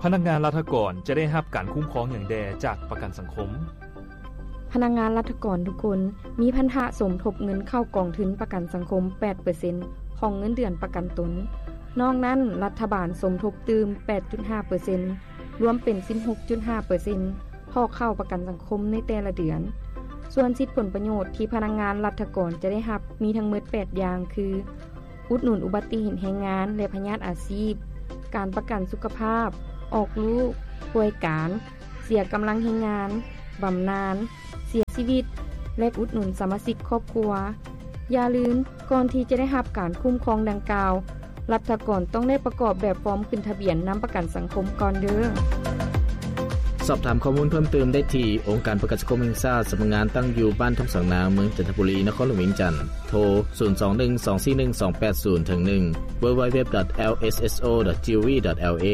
ພະນັກງານລັດຖະກອນຈະໄດ້ຮັບການຄຸ້ມຄອງຫຍັງແດ່ຈາກປະກັນສັງຄົມ? ພະນັກງານລັດຖະກອນທຸກຄົນມີພັນທະສົມທົບເງິນເຂົ້າກອງທຶນປະກັນສັງຄົມແປດເປີເຊັນຂອງເງິນເດືອນປະກັນຕົນ. ນອກນັ້ນ, ລັດຖະບານສົມທົບຕື່ມແປດຈຸດຫ້າເປີເຊັນ ລວມເປັນສິບຫົກຈຸດຫ້າເປີເຊັນ ຂອງເຂົ້າປະກັນສັງຄົມໃນແຕ່ລະເດືອນ. ສ່ວນສິດຜົນປະໂຫຍດທີ່ພະນັກງານລັດຖະກອນຈະໄດ້ຮັບມີທັງໝົດແປດຢ່າງ ຄື ອຸດໜູນອຸບັດຕິເຫດແຮງງານ ແລະ ພະຍາດອາຊີບ, ການປະກັນສຸຂະພາບ, ອອກລູກ, ປ່ວຍການ, ເສຍກຳລັງແຮງງານ, ບຳນານ, ເສຍຊີວິດ ແລະ ອຸດໜູນສະມາຊິກຄອບຄົວ. ຢ່າລືມ, ກ່ອນທີ່ຈະໄດ້ຮັບການຄຸ້ມຄອງດັ່ງກ່າວ, ລັດຖະກອນຕ້ອງໄດ້ປະກອບແບບຟອມຂຶ້ນທະບຽນນຳປະກັນສັງຄົມກ່ອນເດີ້. ສອບຖາມຂໍ້ມູນເພີ່ມເຕີມໄດ້ທີ່ ອົງການປະກັນສັງຄົມແຫ່ງຊາດ ສຳນັກງານຕັ້ງຢູ່ບ້ານທົ່ງສາງນາງ ເມືອງຈັນທະບູລີ ນະຄອນຫຼວງວຽງຈັນ. ໂທ ສູນສອງໜຶ່ງ ສອງສີ່ໜຶ່ງ ສອງແປດສູນ ເຖິງໜຶ່ງ www.lsso.gov.la,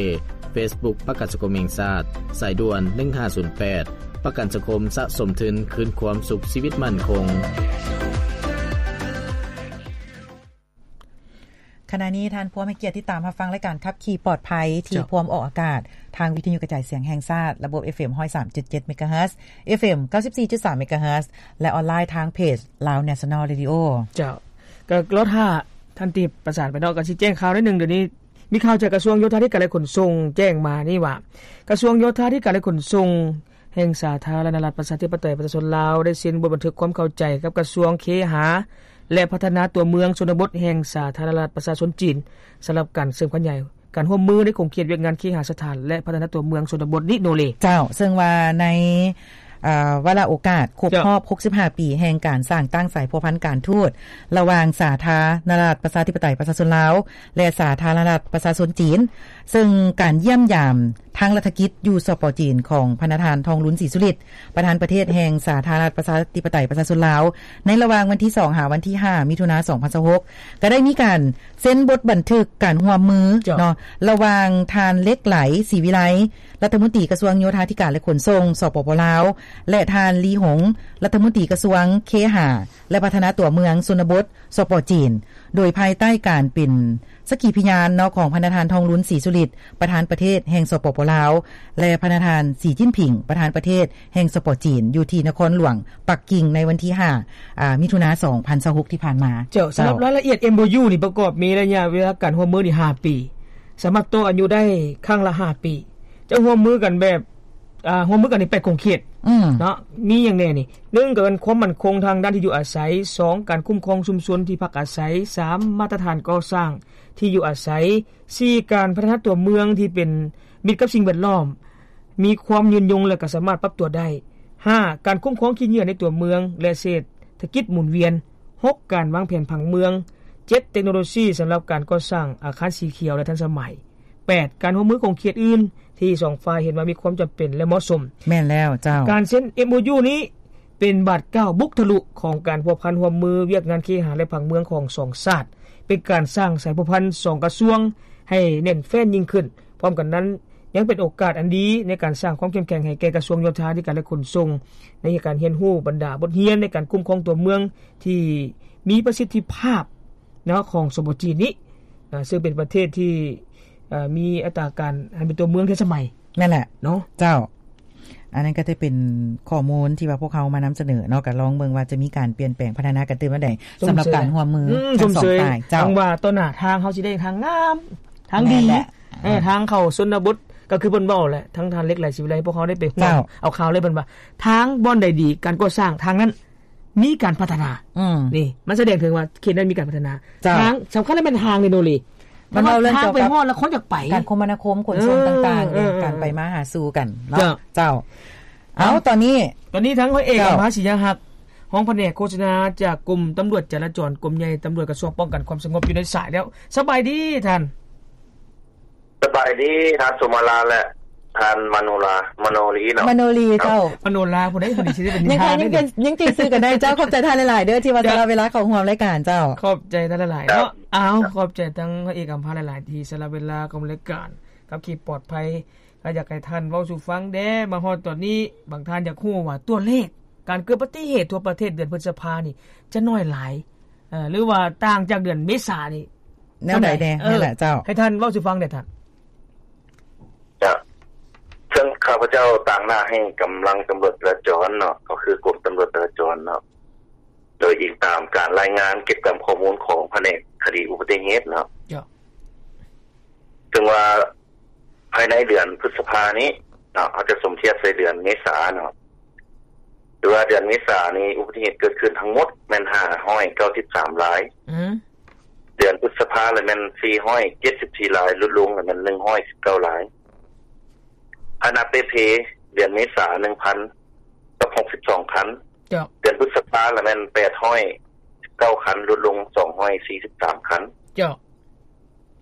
Facebook ປະກັນສັງຄົມແຫ່ງຊາດ, ສາຍດ່ວນ ໜຶ່ງຫ້າສູນແປດ ປະກັນສັງຄົມສະສົມທຶນຄືນຄວາມສຸກຊີວິດໝັ້ນຄົງ. ຂະນະນີ້ທ່ານພວມໃຫ້ກຽດຕິດຕາມຮັບຟັງລາຍການຂັບຂີ່ປອດໄພ ທີ່ພວມອອກອາກາດທາງວິທະຍຸກະຈາຍສຽງແຫ່ງຊາດ ລະບົບ ເອັຟເອັມ ຮ້ອຍສາມຈຸດເຈັດ ເມກາເຮີດ, ເອັຟເອັມ ເກົ້າສິບສີ່ຈຸດສາມ ເມກາເຮີດ ແລະ ອອນລາຍທາງເພຈ Lao National Radio. ເຈົ້າ ກໍລໍຖ້າທ່ານທີ່ປະສານໄປເນາະ ກໍຊິແຈ້ງຂ່າວໜ້ອຍໜຶ່ງ. ດຽວນີ້ມີຂ່າວຈາກກະຊວງໂຍທາທິການ ແລະ ຂົນສົ່ງແຈ້ງມານີ້ວ່າ ກະຊວງໂຍທາທິການ ແລະ ຂົນສົ່ງ ແຫ່ງສາທາລະນະລັດ ປະຊາທິປະໄຕ ປະຊາຊົນລາວ ໄດ້ເຊັນບົດບັນທຶກຄວາມເຂົ້າໃຈກັບກະຊວງເຄຫາ ແລະ ພັດທະນາຕົວເມືອງຊົນນະບົດ ແຫ່ງສາທາລະນະລັດ ປະຊາຊົນຈີນ ສຳລັບການເສີມຂະຫຍາຍການຮ່ວມມືໃນຂົງເຂດວຽກງານເຄຫາສະຖານ ແລະ ພັດທະນາຕົວເມືອງຊົນນະບົດນີ້ໂນເລ. ເຈົ້າ, ເຊິ່ງວ່າໃນ ເອີ ວາລະໂອກາດຄົບຮອບຫົກສິບຫ້າປີແຫ່ງການສ້າງຕັ້ງສາຍພົວພັນການທູດລະຫວ່າງສາທາລະນະລັດ ປະຊາທິປະໄຕ ປະຊາຊົນລາວ ແລະ ສາທາລະນະລັດ ປະຊາຊົນຈີນ, ເຊິ່ງການຢ້ຽມຢາມທາງລັດຖະກິດຢູ່ ສປ ຈີນ ຂອງພະນະທ່ານ ທອງລຸນ ສີສຸລິດ ປະທານປະເທດແຫ່ງສາທາລະນະລັດ ປະຊາທິປະໄຕ ປະຊາຊົນລາວ ໃນລະຫວ່າງວັນທີສອງ ຫາ ວັນທີຫ້າ ມິຖຸນາ ສອງພັນຊາວຫົກ ກໍໄດ້ມີການເຊັນບົດບັນທຶກການຮ່ວມມືເນາະ ລະຫວ່າງທ່ານ ເລັກໄຫຼ ສີວິໄລ ລັດຖະມົນຕີກະຊວງໂຍທາທິການ ແລະ ຂົນສົ່ງ ສປປ ລາວ ແລະ ທ່ານ ລີ ຫົງ ລັດຖະມົນຕີກະຊວງເຄຫາ ແລະ ພັດທະນາຕົວເມືອງຊົນນະບົດ ສປ ຈີນ ໂດຍພາຍໃຕ້ການເປັນສັກຂີພະຍານເນາະ ຂອງພະນະທ່ານ ທອງລຸນ ສີສຸລິດ ປະທານປະເທດແຫ່ງ ສປປ ລາວ ແລະ ພະນະທ່ານ ສີຈິ້ນຜິງ ປະທານປະເທດແຫ່ງ ສປ ຈີນ ຢູ່ທີ່ນະຄອນຫຼວງປັກກິ່ງ ໃນວັນທີຫ້າ ອາ ມິຖຸນາ ສອງພັນຊາວຫົກ ທີ່ຜ່ານມາ. ເຈົ້າ, ສຳລັບລາຍລະອຽດ ເອັມໂອຢູ ນີ້ປະກອບມີໄລຍະເວລາການຮ່ວມມືນີ້ຫ້າປີ, ສາມາດຕໍ່ອາຍຸໄດ້ຄັ້ງລະຫ້າປີ, ຈະຮ່ວມມືກັນແບບ ອ່າ ຮ່ວມມືກັນໃນແປດຂົງເຂດ ອືມ ເນາະ ມີຫຍັງແດ່ນີ້? ໜຶ່ງ ກໍແມ່ນຄວາມໝັ້ນຄົງທາງດ້ານທີ່ຢູ່ອາໄສ, ສອງ ການຄຸ້ມຄອງຊຸມຊົນທີ່ພັກອາໄສ, ສາມ ມາດຕະຖານກໍ່ສ້າງທີ່ຢູ່ອາໄສ, ສີ່ ການພັດທະນາຕົວເມືອງທີ່ເປັນມິດກັບສິ່ງແວດລ້ອມ, ມີຄວາມຍືນຍົງ ແລະ ກໍສາມາດປັບຕົວໄດ້, ຫ້າ ການຄຸ້ມຄອງຂີ້ເຫຍື້ອໃນຕົວເມືອງ ແລະ ເສດຖະກິດໝູນວຽນ, ຫົກ ການວາງແຜນຜັງເມືອງ, ເຈັດ ເຕັກໂນໂລຊີສຳລັບການກໍ່ສ້າງອາຄານສີຂຽວ ແລະ ທັນສະໄໝ, ແປດ ການຮ່ວມມືຂົງເຂດອື່ນທີ່ສອງຝ່າຍເຫັນວ່າມີຄວາມຈຳເປັນ ແລະ ເໝາະສົມ. ແມ່ນແລ້ວເຈົ້າ. ການເຊັນ ເອັມໂອຢູ ນີ້ເປັນບາດກ້າວບຸກທະລຸຂອງການພົວພັນຮ່ວມມືວຽກງານເຄຫະ ແລະ ຜັງເມືອງຂອງສອງຊາດ, ເປັນການສ້າງສາຍພົວພັນສອງກະຊວງໃຫ້ແໜ້ນແຟ້ນຍິ່ງຂຶ້ນ. ພ້ອມກັນນັ້ນ ຍັງເປັນໂອກາດອັນດີໃນການສ້າງຄວາມເຂັ້ມແຂງໃຫ້ແກ່ກະຊວງໂຍທາທິການ ແລະ ຂົນສົ່ງ ໃນການຮຽນຮູ້ບັນດາບົດຮຽນໃນການຄຸ້ມຄອງຕົວເມືອງທີ່ມີປະສິດທິພາບ ເນາະ ຂອງ ສປ ຈີນ ນີ້ ເຊິ່ງເປັນປະເທດທີ່ ເອີ ມີອັດຕາການຫັນເປັນຕົວເມືອງທັນສະໄໝ. ແມ່ນແຫຼະເນາະ ເຈົ້າ. ອັນນັ້ນກໍຈະເປັນຂໍ້ມູນທີ່ວ່າພວກເຮົາມານຳສະເໜີເນາະ, ກໍລອງເບິ່ງວ່າຈະມີການປ່ຽນແປງພັດທະນາກັນຕື່ມອັນໃດ ສຳລັບການຮ່ວມມືທັງສອງຝ່າຍ. ເຈົ້າ, ຫວັງວ່າຕໍ່ໜ້າທາງເຮົາຊິໄດ້ທາງງາມ, ທາງດີ, ເອີ, ທາງເຂົ້າຊົນນະບົດ, ກໍຄືເພິ່ນເວົ້າແຫຼະ, ທາງທ່ານ ເລັກໄຫຼ ສີວິໄລ ພວກເຮົາໄດ້ໄປຮ່ວມເອົາຂ່າວເລີຍ, ເພິ່ນວ່າທາງບ່ອນໃດດີ ການກໍ່ສ້າງທາງນັ້ນ ມີການພັດທະນາ. ອືມ ນີ້ມັນສະແດງເຖິງວ່າເຂດນັ້ນມີການພັດທະນາ. ເຈົ້າ, ທາງສຳຄັນແລ້ວແມ່ນທາງເດໂນເລ. ມັນເວົ້າເລື່ອງກ່ຽວກັບ ການຄົມມະນາຄົມ ຂົນສົ່ງຕ່າງໆ ເອີ ເອີ ການໄປມາຫາສູ່ກັນເນາະ. ເຈົ້າ, ເຈົ້າ. ເອົາ, ຕອນນີ້ ຕອນນີ້ທາງຮ້ອຍເອກ ເຈົ້າ ອຳພາ ສີຍະຮັກ ຮອງພະແນກໂຄສະນາຈາກກົມຕຳຫຼວດຈະລາຈອນ ກົມໃຫຍ່ຕຳຫຼວດ ກະຊວງປ້ອງກັນຄວາມສະຫງົບ ຢູ່ໃນສາຍແລ້ວ. ສະບາຍດີທ່ານ. ສະບາຍດີທ່ານສຸມາລາ ແລະ ທ່ານມະໂນລາ ມະໂນລີເນາະ. ມະໂນລີເຈົ້າ. ມະໂນລາຜູ້ໃດຜູ້ນີ້ຊິໄດ້ເປັນນິທານ. ຍັງ ຍັງ ຍັງຕີຊື່ກັນໄດ້ເຈົ້າ. ຂອບໃຈທ່ານຫຼາຍໆເດີ້ ທີ່ວ່າສະຫຼະເວລາເຂົ້າຮ່ວມລາຍການເຈົ້າ. ຂອບໃຈທ່ານຫຼາຍໆເນາະ. ເອົາ ຂອບໃຈທັງພະເອກອຳພາຫຼາຍໆ ທີ່ສະຫຼະເວລາເຂົ້າຮ່ວມລາຍການຂັບຂີ່ປອດໄພ. ກໍຢາກໃຫ້ທ່ານເວົ້າສູ່ຟັງແດ່ ມາຮອດຕອນນີ້ ບາງທ່ານຢາກຮູ້ວ່າຕົວເລກການເກີດອຸບັດຕິເຫດທົ່ວປະເທດເດືອນພຶດສະພານີ້ ຈະໜ້ອຍຫຼາຍ ເອີ ຫຼືວ່າຕ່າງຈາກເດືອນເມສານີ້ ແນວໃດແດ່? ເອີ ນັ້ນແຫຼະເຈົ້າ. ໃຫ້ທ່ານເວົ້າສູ່ຟັງແດ່ທ່ານ. ເຈົ້າ, ພະເຈົ້າຕາງໜ້າໃຫ້ກຳລັງຕຳຫຼວດຈະລາຈອນເນາະ ກໍຄືກົມຕຳຫຼວດຈະລາຈອນເນາະ ໂດຍອີງຕາມການລາຍງານເກັບກຳຂໍ້ມູນຂອງພະແນກຄະດີອຸບັດຕິເຫດເນາະ. ເຈົ້າ. ເຊິ່ງວ່າພາຍໃນເດືອນພຶດສະພານີ້ເນາະ ເຮົາຈະສົມທຽບໃສ່ເດືອນເມສາເນາະ ຖືວ່າເດືອນເມສານີ້ອຸບັດຕິເຫດເກີດຂຶ້ນທັງໝົດແມ່ນຫ້າຮ້ອຍເກົ້າສິບສາມລາຍ. ອືມ. ເດືອນພຶດສະພາລະແມ່ນສີ່ຮ້ອຍເຈັດສິບສີ່ລາຍ ຫຼຸດລົງລະແມ່ນໜຶ່ງຮ້ອຍສິບເກົ້າລາຍ. ພາຫະນະເປ່ເພ ເດືອນເມສາໜຶ່ງພັນກັບຫົກສິບສອງຄັນ. ເຈົ້າ. ເດືອນພຶດສະພາລະແມ່ນແປດຮ້ອຍສິບເກົ້າຄັນ ຫຼຸດລົງສອງຮ້ອຍສີ່ສິບສາມຄັນ. ເຈົ້າ.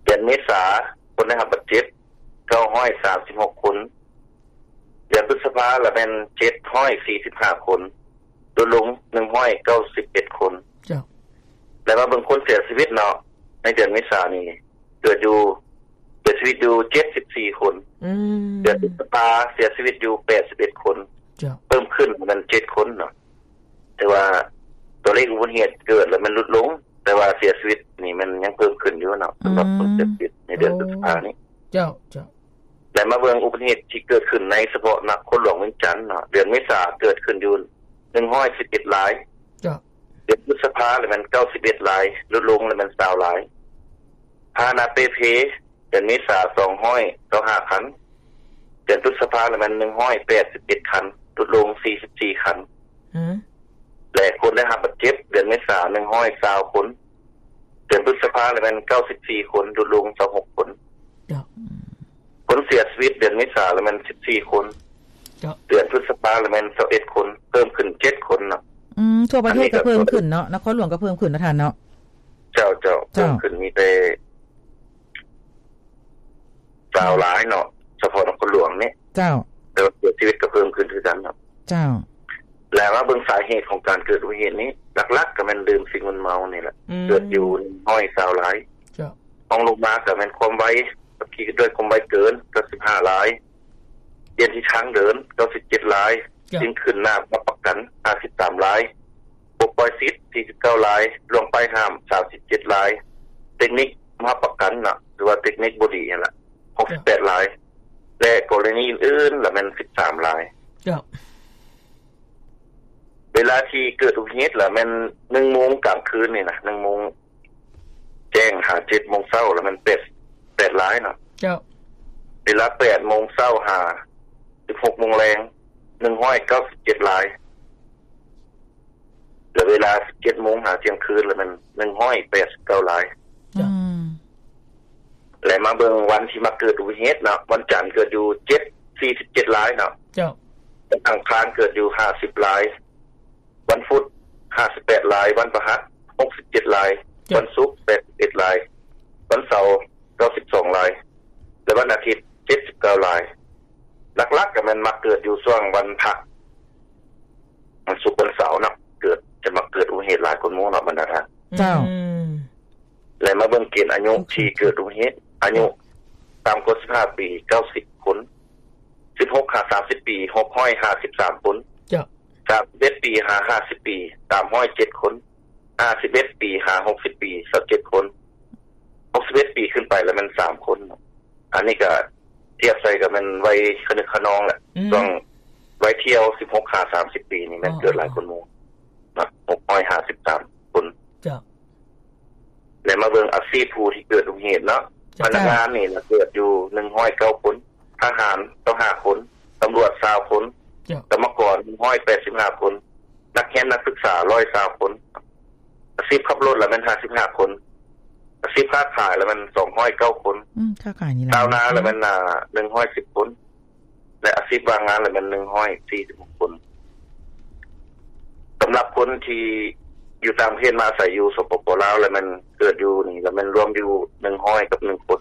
ເດືອນເມສາ ຄົນໄດ້ຮັບບາດເຈັບເກົ້າຮ້ອຍສາມສິບຫົກຄົນ. ເດືອນພຶດສະພາລະແມ່ນເຈັດຮ້ອຍສີ່ສິບຫ້າຄົນ ຫຼຸດລົງໜຶ່ງຮ້ອຍເກົ້າສິບເອັດຄົນ. ເຈົ້າ. ແລະມາເບິ່ງຄົນເສຍຊີວິດເນາະ ໃນເດືອນເມສານີ້ ເກີດຢູ່ ເສຍຊີວິດຢູ່ເຈັດສິບສີ່ຄົນ. ອືມ. ເດືອນພຶດສະພາເສຍຊີວິດຢູ່ແປດສິບເອັດຄົນ. ເຈົ້າ. ເພີ່ມຂຶ້ນແມ່ນເຈັດຄົນເນາະ ແຕ່ວ່າຕົວເລກອຸບັດຕິເຫດເກີດລະແມ່ນຫຼຸດລົງ ແຕ່ວ່າເສຍຊີວິດນີ້ແມ່ນຍັງເພີ່ມຂຶ້ນຢູ່ເນາະ ສຳລັບຄົນເສຍຊີວິດໃນເດືອນ ໂອ້ ພຶດສະພານີ້. ເຈົ້າ ເຈົ້າ. ແລະມາເບິ່ງອຸບັດຕິເຫດທີ່ເກີດຂຶ້ນໃນສະເພາະນະຄອນຫຼວງວຽງຈັນເນາະ ເດືອນເມສາເກີດຂຶ້ນຢູ່ໜຶ່ງຮ້ອຍສິບເອັດລາຍ. ເຈົ້າ. ເດືອນພຶດສະພາລະແມ່ນເກົ້າສິບເອັດລາຍ ຫຼຸດລົງລະແມ່ນຊາວລາຍ. ພາຫະນະເປ່ເພ ເດືອນເມສາສອງຮ້ອຍເກົ້າສິບຫ້າຄັນ ເດືອນພຶດສະພາລະແມ່ນໜຶ່ງຮ້ອຍແປດສິບເອັດຄັນ ຫຼຸດລົງສີ່ສິບສີ່ຄັນ. ອືມ. ແລະຄົນໄດ້ຮັບບາດເຈັບເດືອນເມສາໜຶ່ງຮ້ອຍຊາວຄົນ ເດືອນພຶດສະພາລະແມ່ນເກົ້າສິບສີ່ຄົນ ຫຼຸດລົງຊາວຫົກຄົນ. ເຈົ້າ. ອືມ. ຄົນເສຍຊີວິດເດືອນເມສາລະແມ່ນສິບສີ່ຄົນ. ເຈົ້າ. ເດືອນພຶດສະພາລະແມ່ນຊາວເອັດຄົນ ເພີ່ມຂຶ້ນເຈັດຄົນເນາະ. ອືມ. ທົ່ວປະເທດກໍເພີ່ມຂຶ້ນເນາະ ນະຄອນຫຼວງກໍເພີ່ມຂຶ້ນເນາະທ່ານເນາະ. ເຈົ້າ ເຈົ້າ. ເພີ່ມຂຶ້ນມີແຕ່ຊາວຫຼາຍເນາະ ສະເພາະນະຄອນຫຼວງນີ້. ເຈົ້າ. ແຕ່ວ່າເສຍຊີວິດກໍເພີ່ມຂຶ້ນຄືກັນເນາະ. ເຈົ້າ. ແລະມາເບິ່ງສາເຫດຂອງການເກີດອຸບັດຕິເຫດນີ້ ຫຼັກໆກໍແມ່ນດື່ມສິ່ງມຶນເມົານີ້ແຫຼະ. ອືມ. ເກີດຢູ່ໜຶ່ງຮ້ອຍຊາວລາຍ. ເຈົ້າ. ຮອງລົງມາກໍແມ່ນຄວາມໄວ ຂັບຂີ່ດ້ວຍຄວາມໄວເກີນ ເກົ້າສິບຫ້າລາຍ. ປ່ຽນທິດທາງເດີນ ເກົ້າສິບເຈັດລາຍ. ເຈົ້າ. ສິ່ງຂຶ້ນໜ້າບໍ່ຮັບປະກັນ ຫ້າສິບສາມລາຍ. ປົດປ່ອຍສິດ ສີ່ສິບເກົ້າລາຍ. ລ່ວງປ້າຍຫ້າມ ສາມສິບເຈັດລາຍ. ເຕັກນິກບໍ່ຮັບປະກັນເນາະ ຫຼືວ່າເຕັກນິກບໍ່ດີຫັ້ນລະ ຫົກສິບແປດລາຍ ແລະກໍລະນີອື່ນໆລະແມ່ນສິບສາມລາຍ. ເຈົ້າ. ເວລາທີ່ເກີດອຸບັດຕິເຫດລະແມ່ນໜຶ່ງໂມງກາງຄືນນີ້ນະ ໜຶ່ງໂມງແຈ້ງຫາເຈັດໂມງເຊົ້າລະແມ່ນແປດ ແປດລາຍເນາະ. ເຈົ້າ. ເວລາແປດໂມງເຊົ້າຫາສິບຫົກໂມງແລງ ໜຶ່ງຮ້ອຍເກົ້າສິບເຈັດລາຍ. ແລະເວລາສິບເຈັດໂມງຫາທ່ຽງຄືນລະແມ່ນໜຶ່ງຮ້ອຍແປດສິບເກົ້າລາຍ. ເຈົ້າ. ອືມ. ແລະມາເບິ່ງວັນທີ່ມັກເກີດອຸບັດຕິເຫດເນາະ ວັນຈັນເກີດຢູ່ເຈັດ ສີ່ສິບເຈັດລາຍເນາະ. ເຈົ້າ. ວັນອັງຄານເກີດຢູ່ຫ້າສິບລາຍ. ວັນພຸດຫ້າສິບແປດລາຍ. ວັນພະຫັດຫົກສິບເຈັດລາຍ. ເຈົ້າ. ວັນສຸກແປດສິບເອັດລາຍ. ວັນເສົາເກົ້າສິບສອງລາຍ ແລະວັນອາທິດເຈັດສິບເກົ້າລາຍ. ຫຼັກໆກໍແມ່ນມັກເກີດຢູ່ຊ່ວງວັນພະ ວັນສຸກວັນເສົາເນາະ ເກີດ ຈະມັກເກີດອຸບັດຕິເຫດຫຼາຍກວ່າໝູ່ເນາະບັນດາທ່ານ. ເຈົ້າ. ອືມ. ແລະມາເບິ່ງເກນອາຍຸທີ່ເກີດອຸບັດຕິເຫດ ອາຍຸຕ່ຳກວ່າສິບຫ້າປີ ເກົ້າສິບຄົນ, ສິບຫົກຫາສາມສິບປີ ຫົກຮ້ອຍຫ້າສິບສາມຄົນ. ເຈົ້າ. ສາມສິບເອັດປີຫາຫ້າສິບປີ ສາມຮ້ອຍເຈັດຄົນ, ຫ້າສິບເອັດປີຫາຫົກສິບປີ ຊາວເຈັດຄົນ, ຫົກສິບເອັດປີຂຶ້ນໄປລະແມ່ນສາມຄົນ. ອັນນີ້ກະທຽບໃສ່ກະແມ່ນໄວຄະນຶກຄະນອງແຫຼະ. ອືມ. ຊ່ວງໄວທ່ຽວ ສິບຫົກຫາສາມສິບປີນີ້ແມ່ນເກີດຫຼາຍກວ່າໝູ່ເນາະ ຫົກຮ້ອຍຫ້າສິບສາມຄົນ. ເຈົ້າ. ແລະມາເບິ່ງອາຊີບຜູ້ທີ່ເກີດອຸບັດຕິເຫດເນາະ. ເຈົ້າ. ພະນັກງານນີ້ລະເກີດຢູ່ໜຶ່ງຮ້ອຍເກົ້າຄົນ, ທະຫານຊາວຫ້າຄົນ, ຕຳຫຼວດຊາວຄົນ, ເຈົ້າ. ກຳມະກອນໜຶ່ງຮ້ອຍແປດສິບຫ້າຄົນ, ນັກຮຽນນັກສຶກສາຮ້ອຍຊາວຄົນ. ອາຊີບຂັບລົດລະແມ່ນຫ້າສິບຫ້າຄົນ, ອາຊີບຄ້າຂາຍລະແມ່ນສອງຮ້ອຍເກົ້າຄົນ. ອືມ ຄ້າຂາຍນີ້ຫຼາຍ. ຊາວນາລະແມ່ນ ອາ ໜຶ່ງຮ້ອຍສິບຄົນ ແລະອາຊີບວ່າງງານລະແມ່ນໜຶ່ງຮ້ອຍສີ່ສິບຫົກຄົນ. ສຳລັບຄົນທີ່ຢູ່ຕ່າງປະເທດມາອາໄສຢູ່ ສປປ ລາວ ລະແມ່ນເກີດຢູ່ນີ້ລະແມ່ນລວມຢູ່ໜຶ່ງຮ້ອຍກັບໜຶ່ງຄົນ.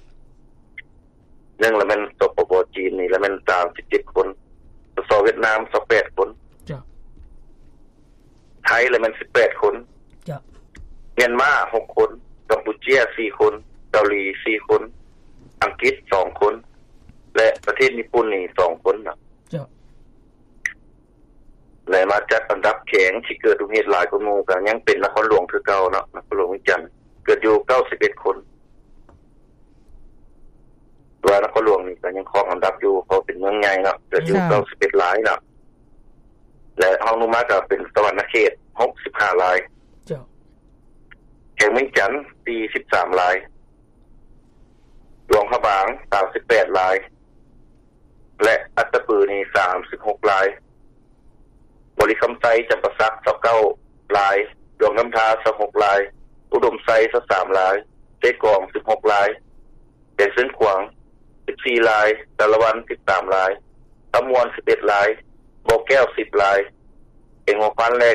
ໜຶ່ງລະແມ່ນ ສປປ ຈີນນີ້ລະແມ່ນສາມສິບເຈັດຄົນ, ສສ ຫວຽດນາມຊາວແປດຄົນ. ເຈົ້າ. ໄທລະແມ່ນສິບແປດຄົນ. ເຈົ້າ. ມຽນມາຫົກຄົນ, ກຳປູເຈຍສີ່ຄົນ, ເກົາຫຼີສີ່ຄົນ, ອັງກິດສອງຄົນ ແລະປະເທດຍີ່ປຸ່ນນີ້ສອງຄົນນະ. ເຈົ້າ. ແລະມາຈັດອັນດັບແຂວງທີ່ເກີດອຸບັດຕິເຫດຫຼາຍກວ່າໝູ່ ກະຍັງເປັນນະຄອນຫຼວງຄືເກົ່າເນາະ, ນະຄອນຫຼວງວຽງຈັນເກີດຢູ່ເກົ້າສິບເອັດຄົນ. ແຕ່ວ່ານະຄອນຫຼວງນີ້ກະ ຍັງຄອງອັນດັບຢູ່ ເພາະເປັນເມືອງໃຫຍ່ເນາະ ເກີດຢູ່ ເກົ້າສິບເອັດລາຍເນາະ ແລະຮອງລົງມາກໍເປັນສະຫວັນນະເຂດ ຫົກສິບຫ້າລາຍ ເຈົ້າ ແຂວງວຽງຈັນ ສີ່ສິບສາມລາຍ ຫຼວງພະບາງ ຊາວແປດລາຍ ແລະອັດຕະປືນີ້ ສາມສິບຫົກລາຍ ບໍລິຄຳໄຊ ຈຳປາສັກ ຊາວເກົ້າລາຍ ຫຼວງນ້ຳທາ ຊາວຫົກລາຍ ອຸດົມໄຊ ຊາວສາມລາຍ ເຊກອງ ສິບຫົກລາຍ ແຂວງຊຽງຂວາງ ສິບສີ່ລາຍ ສາລະວັນ ສິບສາມລາຍ ຄຳມ່ວນ ສິບເອັດລາຍ ບໍ່ແກ້ວ ສິບລາຍ ແຂວງຫົວພັນ ແລະແຂ